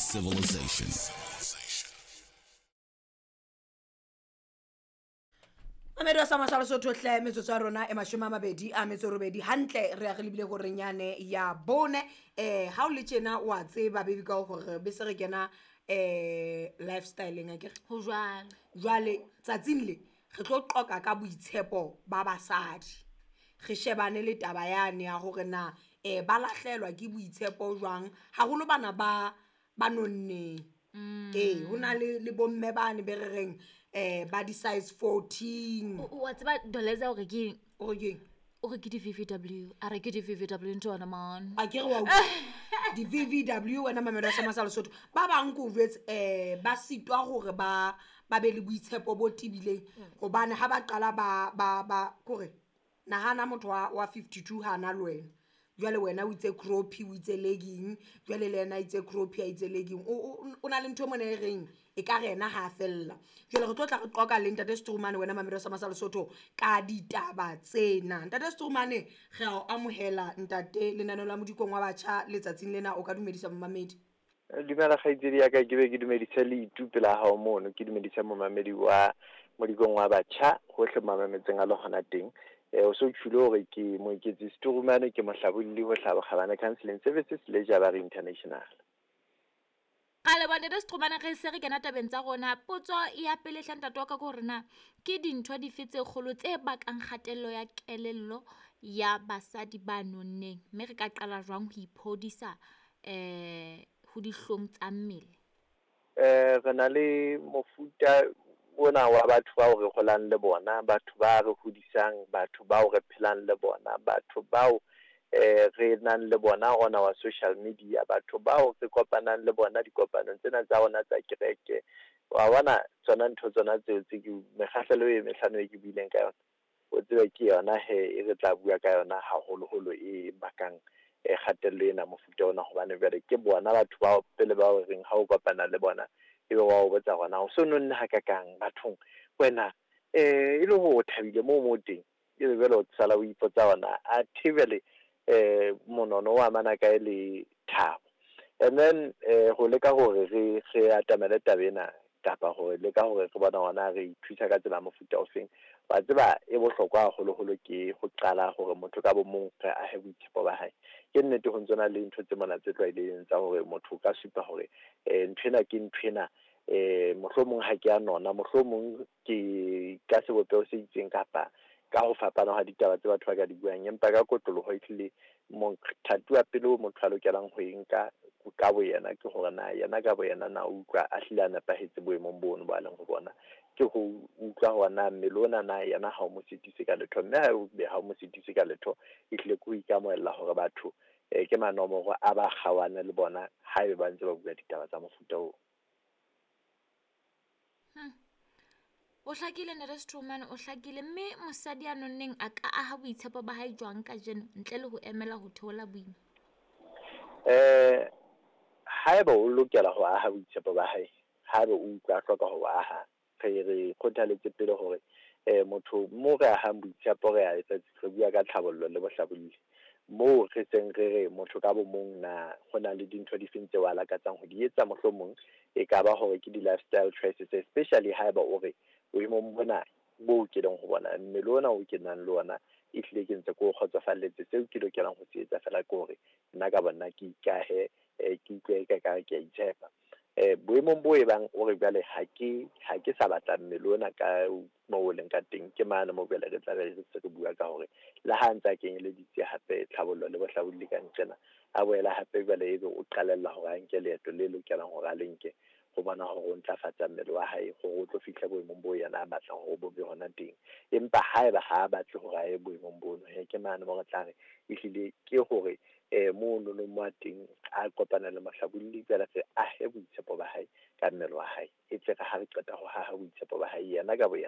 Civilization. Mamedi wa sa masala Sotho hle, metsotso ya rona e 28 hantle, re ya re lebile horeng yane ya 4. Ha o le tjena wa tseba baby ka hore be se re kena lifestyleng akere? Ho jwalo. Jwale tsatsing le re tlo qoqa ka boitshepo ba basadi, re shebane le taba yane ya hore na ba lahlelwa ke boitshepo jwang, haholo bana ba nonneng. Ee, ho na le bomme bane be re reng ba di-size 14. Wa tseba Doleza hore ke eng? O re ke eng? O re ke di-VVW. A re ke di-VVW ntho yona man. A ke re wa utlwa. Di-VVW wena mamelo ya Sama sa Lesotho. Ba bang ke o jwetse ba sitwa hore ba be le boitshepo bo tebileng, hobane ha ba qala ba kore nahana motho wa 52 ha na le wena. Jwale wena o itse croppy, o itse legging, jwale le yena a itse croppy, a itse legging. O na le ntho mona e reng e ka re yena ha a fella. Jwale re tlo tla re qoqa le Ntate Strumane wena mamelo ya Sama sa Lesotho ka ditaba tsena. Ntate Strumane, re a o amohela ntate lenaneo la Modikong wa Batjha letsatsing lena, o ka dumedisa momamedi. Dumela kgaitsedi ya ka, ke be ke dumedise le itu pela hao mono, ke dumedise momamedi wa Modikong wa Batjha hohle mamametseng a le hona teng. O so tjhule hore ke Moeketsi Strumane, ke mohlabolli ho Hlabo Kgabane Counseling Services le Jabari International. Ka leboha Ntate Strumane, re se re kena tabeng tsa rona. Potso ya pele hle ntate wa ka ke hore na ke dintho dife tse kgolo tse bakang kgatello ya kelello ya basadi ba nonneng, mme re ka qala jwang ho iphodisa ho dihlong tsa mmele? Re na le mofuta ona wa batho bao re holang le bona, batho ba re hodisang, batho bao re phelang le bona, batho bao re nang le bona ona wa social media, batho bao re kopanang le bona dikopanong tsena tsa rona tsa kereke. Wa bona tsona ntho tsona tseo tse ke mekgahlelo e mehlano e ke buileng ka yona, o tsebe ke yona he e re tla bua ka yona haholoholo e bakang kgatello ena mofuta ona, hobane jwale ke bona batho bao pele bao reng ha o kopana le bona ebe wa o botsa hore na o so nonne hakakang bathong wena, e le hore o thabile moo teng, ebe jwale o sala o ipotsa hore na athe jwale monono o amana kae le thabo. And then ho leka hore re atamele taba ena, kapa hore leka hore re bona hore na re ithusa ka tsela mofuta ofeng. Wa tseba e bohlokwa haholoholo ke ho qala hore motho ka bo mong re ahe boitshepo ba hae. Ke nnete ho ntso na le ntho tse mona tse tlwaelehileng tsa hore motho o ka supa hore nthwena ke nthwena, mohlomong ha ke a nona, mohlomong ke ka sebopeho se itseng kapa ka ho fapana ha ditaba tse batho ba ka di buang, empa ka kotloloho ehlile mothati wa pele o motho a lokelang ho e nka ka bo yena ke hore na yena ka bo yena na o utlwa a hlile a nepahetse boemong bono bo a leng ho bona, ke ho utlwa hore na mmele ona na yena ha o mo sitise ka letho, mme ha o be ha o mo sitise ka letho ehlile ke ho ikamohela hore batho ke manomoro a ba kgaohane le bona haebe ba ntse ba bua ditaba tsa mofuta oo. O hlakile Ntate Strumane, o hlakile. Mme mosadi ya nonneng a ka aha boitshepo ba hae jwang kajeno ntle le ho emela ho theola boima? Haeba o lokela ho aha boitshepo ba hae, haeba o utlwa a hloka ho aha, re kgothaletse pele hore motho mo re ahang boitshepo re a etsa, re bua ka tlhabollo le bohlabolli. Moo re seng re re motho ka bo mong na ho na le dintho difeng tseo a lakatsang ho di etsa, mohlomong e ka ba hore ke di-lifestyle choices, especially haeba o re boemong bona bo ke leng ho bona, mmele ona o ke nang le ona ehlile ke ntse ke o kgotsofalletse, seo ke lokelang ho se etsa fela ke hore nna ka bona ke ikahe, ke utlwe ka kare ke a itshepa. Boemong bo e bang o re jwale ha ke sa batla mmele ona ka moo o leng ka teng, ke mane moo jwale re tla be re se re bua ka hore le ha ntse a kenyeleditse hape tlhabollo le bohlabolli ka nqena, a boela hape jwale ebe o qalella hore a nke leeto le lokelang hore a le nke ho bona hore o ntlafatsa mmele wa hae hore o tlo fihla boemong bo yena a batlang hore bo be hona teng. Empa haeba ha a batle hore a ye boemong bono, he ke mane mo re tla re ehlile ke hore mono no mo a teng a kopana le mohlabolli jwale re ahe boitshepo ba hae ka mmele wa hae, e tle re ha re qeta ho haha boitshepo ba hae yena ka bo yena.